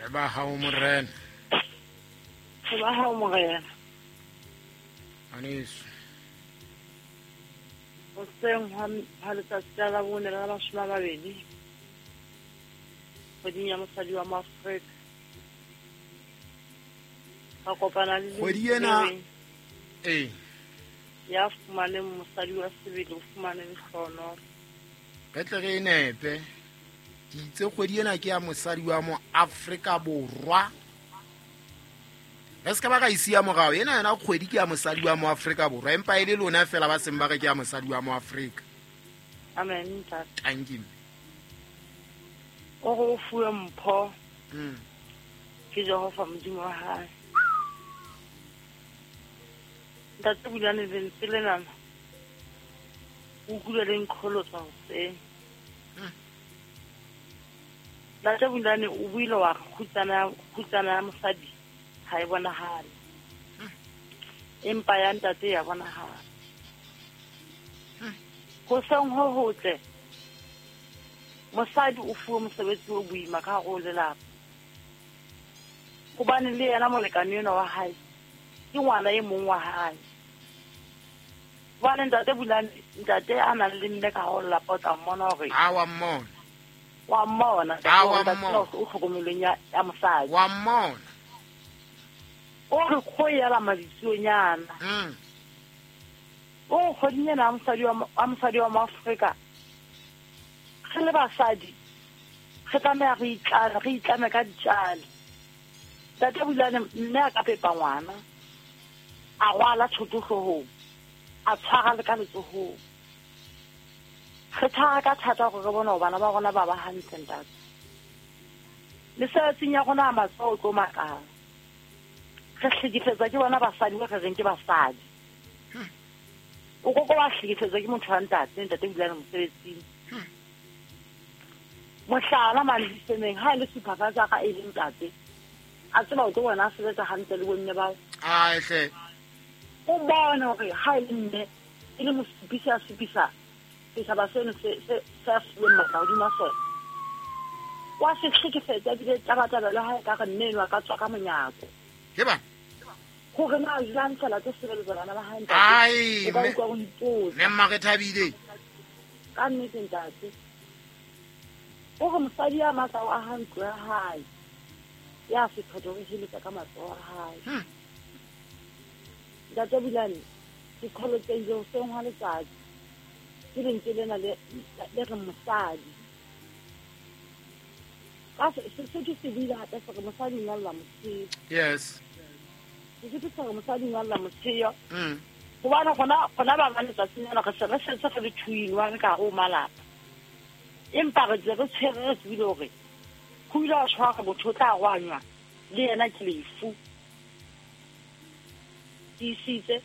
Re ba hao morena. Re ba hao morena. Aneso. Hoseng hwa letsatsi la Labone la 20 kgweding ya mosadi wa Moafrika. Ra kopana le kgwedi ena ee ya fumaneng mosadi wa sebele o fumane lehlohonolo. Re tle re e nepe. Ke itse kgwedi ena ke ya mosadi wa Moafrika Borwa. Re se ka ba ka isia morao. Ena yona kgwedi ke ya mosadi wa Moafrika Borwa, empa e le lona fela ba seng ba re ke ya mosadi wa Moafrika. Amen ntate. Thank you. O re o fuwe mpho ke Jehova Modimo wa hae. Ntate Bulane lentswe lenana o utlwile le nqholotsa hoseng. Ntate Bulane o buile wa re kgutsana ya mosadi ha e bonahale, empa ya ntate ya bonahala. Hoseng ho hotle mosadi o fuwe mosebetsi o boima ka hare ho lelapa, hobane le yena molekane enwa wa hae ke ngwana e mong wa hae. Hobane ntate Bulane, ntate a nang le mme ka hare ho lelapa o tla mmona hore a wa mmona. Wa mmona. A wa mmona. O tlhokomelong ya mosadi. Wa mmona. O re kgoyela maditsonyana. O kgweding ena ya mosadi wa Moafrika, re le basadi re tlameha re itlame ka ditjale. Ntate Bulane mme a ka pepa ngwana, a rwala thoto hloohong, a tshwara le ka letsohong. Re tshwara ka thata hore re bone hore bana ba rona ba ba hantle ntate. Mesebetsing ya rona ya matsoho o tlo makala. Re hlekefetswa ke bona basadi ba re reng ke basadi. O koko wa hlekefetswa ke motho wa ntate, ntate Bulane mosebetsing. Mohlala mane disemeng ha e le supervisor ka e le ntate, a tseba o tlo bona a sebetsa hantle le bomme bao. Ai hle. O bone hore ha e le mme e le mosupisi a supisa setjhaba seno se a fuweng matla hodima sona. Wa se hlekefetsa ebile tabatabelo ha e ka re mme enwa a ka tswa ka monyako. Ke ba hore na jwang fela tlo sebeletsa bana ba hae ntate. Ai O ka utlwa o ipotsa. Mme mma re thabile. Ka nnete ntate. O re mosadi ya matla o aha ntlo ya hae, ya sephetho o heletsa ka matsoho a hae. Ntate Bulane, ke qholotsehile hoseng hwa letsatsi ke lentswe lena le reng mosadi. Ka Sesotho se buile hape se re mosadi o nyalla motsheo. Yes. Sesotho se re mosadi o nyalla motsheo. Hobane gona ba ba letsatsing lena re se re setse re le 2 in 1 ka hare ho malapa. Empa re ntse re tshwere re tsebile hore ho ile wa tshwara motho o tla rwanywa le yena ke lefu. Tiisitse